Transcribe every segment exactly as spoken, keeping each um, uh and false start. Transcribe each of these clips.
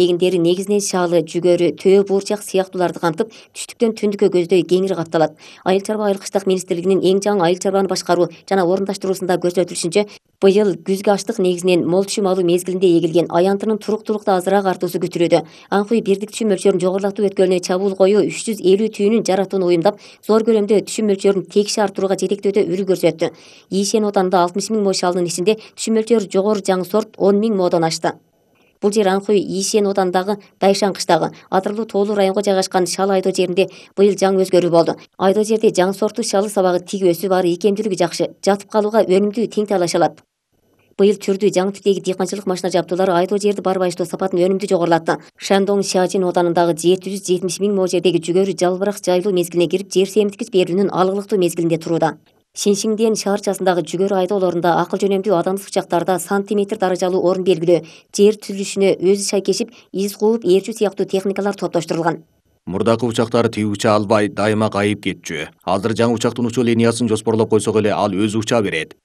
эгиндери негизинен шалы, жүгөрү, төө буурчак сыяктууларды камтып, түштүктөн түндүккө көздөй кеңири капталат. Айыл чарба айылкычтык министрлигинин эң жаңы айыл чарбаны башкаруу жана орундаштыруусунда көрсөтүлүшүнчө, быйыл күзгү аштык негизинен мол түшүм алуу мезгилинде эгилген аянтынын туруктуулукта азыраак артуусу күтүлүүдө. Аңкый бирдик түшүм мөлчөрүн жогорулатуу өткөлүнө чабуул коюу үч жүз элүү түйүнүн жаратууну уюмдап, зор көлөмдө түшүм мөлчөрүн тегиш арттырууга жетектөөдө үлгү көрсөттү. Ийшен оданында алтымыш миң мо шалынын ичинде түшүм мөлчөрү жогору жаңы сорт он миң модон ашты. Бул жер Аңкүй Ийшен оданындагы Дайшан кыштагы Атырлуу тоолуу районго жайгашкан Шал айдоо жеринде быйыл жаңы өзгөрүү болду. Айдоо жерде жаңы сорттуу шалы сабагы тик өсүп, ары икемдүүлүгү жакшы, жатып калууга өнүмдүү тең талаш алат. Быйыл түрдүү жаңы типтеги дыйканчылык машина жабдуулары айдоо жерди барбайыштоо сапатын өнүмдүү жогорулатты. Шандоң Шажин оданындагы жети жүз жетимиш миң мо жердеги жүгөрү жалбырак жайлуу мезгилине кирип, жер семирткич берүүнүн алгылыктуу мезгилинде турууда. Шиншиңден шаарчасындагы жүгөрү айдоолорунда акыл жөнөмдүү адамдык учактарда сантиметр даражалуу орун белгилөө, жер түзүлүшүнө өзү шайкешип, из кууп, ээрчүү сыяктуу техникалар топтоштурулган. Мурдакы учактар тиги уча албай, дайыма кайып кетчү. Азыр жаңы учактын учуу линиясын жоспорлоп койсок эле, ал өзү уча берет.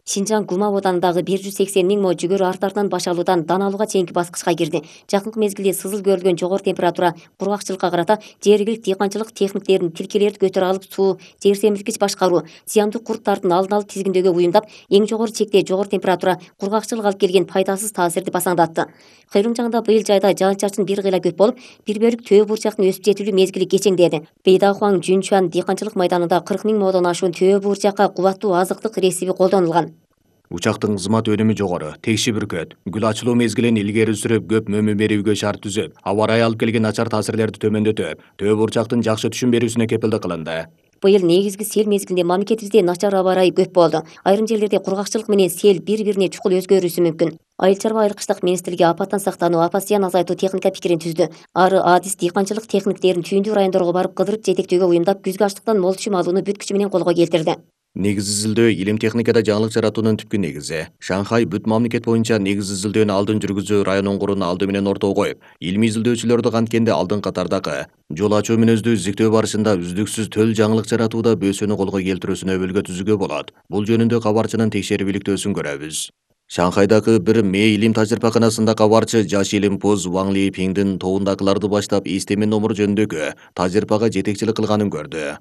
Шинжаң Гумав оданындагы бир жүз сексен миң мо жүгөрү арт-артынан баш алуудан дан алууга чейинки баскычка кирди. Жакынкы мезгилде сызыл көрүлгөн жогору температура, кургакчылыкка карата жергиликтүү дыйканчылык техниктерин тилкелерди көтөрө алып, суу, жер семирткич башкаруу, зыяндуу курттардын алдын алып тизгиндөөгө уюмдап, эң жогору чекте жогору температура, кургакчылык алып келген пайдасыз таасирди басаңдатты. Кыйрым жагында быйыл жайда жаан-чачын бир кыйла көп болуп, бир бөлүк төө буурчактын өсүп жетилүү мезгили кечеңдеди. Бейдахуаң Жүнчуан дыйканчылык майданында кырк миң модон ашуун төө буурчакка кубаттуу азыктык ресиби колдонулган. Учактын кызмат өнүмү жогору, текши бүркөт, гүл ачылуу мезгилин илгери сүрүп, көп мөмө берүүгө шарт түзүп, аба ырайы алып келген начар таасирлерди төмөндөтүп, төө буурчактын жакшы түшүм берүүсүнө кепилдик кылынды. Быйыл негизги сел мезгилинде мамлекетибизде начар аба ырайы көп болду. Айрым жерлерде кургакчылык менен сел бири-бирине чукул өзгөрүшү мүмкүн. Айыл чарба айылкычтык министрлиги апаттан сактануу, апат зыян азайтуу техника пикирин түздү. Ары адис дыйканчылык техниктерин түйүндүү райондорго барып кыдырып жетектөөгө уюмдап, күзгү аштыктан мол түшүм алууну бүт күчү менен колго келтирди. Негиз изилдөө илим техникада жаңылык жаратуунун түпкү негизи. Шанхай бүт мамлекет боюнча негиз изилдөөнү алдын жүргүзүү район оңгурун алды менен ортого коюп, илимий изилдөөчүлөрдү канткенде алдын катардагы жол ачуу мүнөздүү изилдөө барышында үздүксүз төл жаңылык жаратууда бөөсөнү колго келтирүүсүнө өбөлгө түзүүгө болот. Бул жөнүндө кабарчынын текшерип иликтөөсүн көрөбүз. Шанхайдагы бир ме илим тажрыйбаканасында кабарчы жаш илимпоз Ваң Липиңдин тобундагыларды баштап эстеме номуру жөнүндөгү тажрыйбага жетекчилик кылганын көрдү.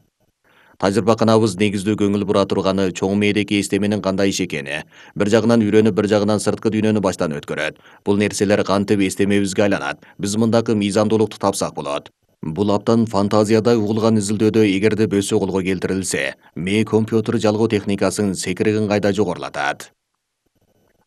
Тажрыйбаканабыз негиздүү көңүл бура турганы чоң мээдеги эстеменин кандай иш экени. Бир жагынан үйрөнүп, бир жагынан сырткы дүйнөнү баштан өткөрөт. Бул нерселер кантип эстемебизге айланат. Биз мындагы мыйзамдуулукту тапсак болот. Бул абдан фантазияда угулган изилдөөдө эгерде бөөсө колго келтирилсе, ме компьютер жалгоо техникасынын секиригин кайда жогорулатат.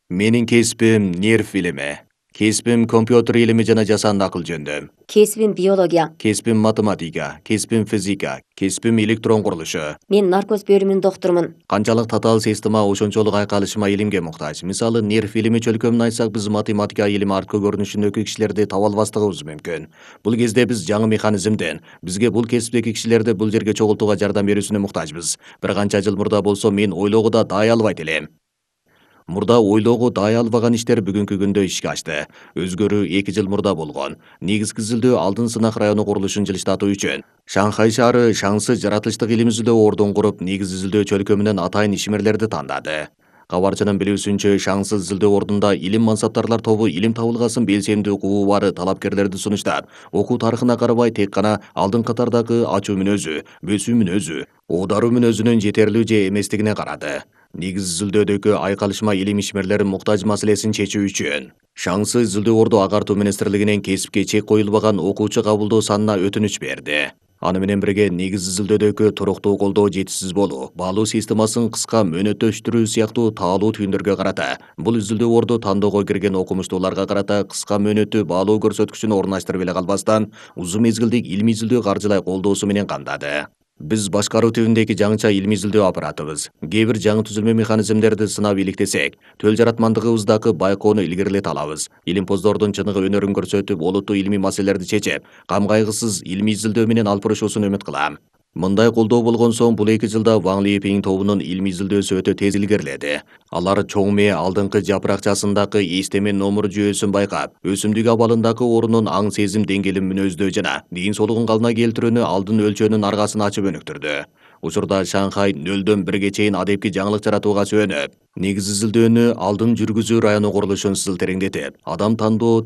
Менин кесибим нерв илими. Кесибим компьютер илими жана жасанды акыл жөнүндө. Кесибим биология. Кесибим математика, кесибим физика, кесибим электрон курулушу. Мен наркоз бөлүмүнүн доктурумун. Канчалык татаал система ошончолук айкалышма илимге муктаж. Мисалы, нерв илими чөлкөмүн айтсак, биз математика илими арткы көрүнүшүндөгү кишилерди таба албастыгыбыз мүмкүн. Бул кезде биз жаңы механизмден, бизге бул кесиптеги кишилерди бул жерге чогултууга жардам берүүсүнө муктажбыз. Бир канча жыл мурда болсо мен ойлоого да даай албайт элем. Мурда ойлоого даай албаган иштер бүгүнкү күндө ишке ашты. Өзгөрүү эки жыл мурда болгон. Негизги изилдөө алдын сынак району курулушун жылыштатуу үчүн Шанхай шаары шаңсы жаратылыштык илим изилдөө ордун куруп, негиз изилдөө чөлкөмүнөн атайын ишмерлерди тандады. Кабарчынын билүүсүнчө, шаңсыз изилдөө ордунда илим мансаптарлар тобу илим табылгасын белсемдүү укугу бар талапкерлерди сунуштап, окуу тарыхына карабай тек гана алдын катардагы ачуу мүнөзү, бөөсүү мүнөзү, оодаруу мүнөзүнүн жетерлүү же эместигине карады. Негиз изилдөөдөгү айкалышма илим ишмерлерин муктаж маселесин чечүү үчүн шаңсыз изилдөө орду агартуу министрлигинен кесипке чек коюлбаган окуучу кабылдоо санына өтүнүч берди. Аны менен бирге негиз изилдөөдөгү туруктуу колдоо жетишсиз болуу, баалуу системасын кыска мөөнөттөштүрүү сыяктуу таалуу түйүндөргө карата бул изилдөө орду тандоого кирген окумуштууларга карата кыска мөөнөттүү баалуу көрсөткүчүн орундаштырып эле калбастан, узун мезгилдик илимий изилдөө каржылай колдоосу менен камдады. Биз башкаруу тибиндеги жаңыча илимий изилдөө аппаратыбыз. Кээ бир жаңы түзүлмө механизмдерди сынап иликтесек, төл жаратмандыгыбыздагы байкоону илгерилете алабыз. Илимпоздордун чыныгы өнөрүн көрсөтүп, олуттуу илимий маселелерди чечип, кам кайгысыз илимий изилдөө менен алып барышуусун үмүт кылам. Мындай колдоо болгон соң бул эки жылда Ваң Липиң тобунун илимий изилдөөсү өтө тез илгериледи. Алар чоң мээ алдыңкы жапыракчасындагы эстеме номур жүйөсүн байкап, өсүмдүк абалындагы орунун аң сезим деңгээлин мүнөздөө жана ден соолугун калына келтирүүнү алдын өлчөөнүн аргасын ачып өнүктүрдү. Учурда Шанхай нөлдөн бирге чейин адепки жаңылык жаратууга сүйөнүп, негиз изилдөөнү алдын жүргүзүү району курулушун сыл тереңдетип, адам тандоо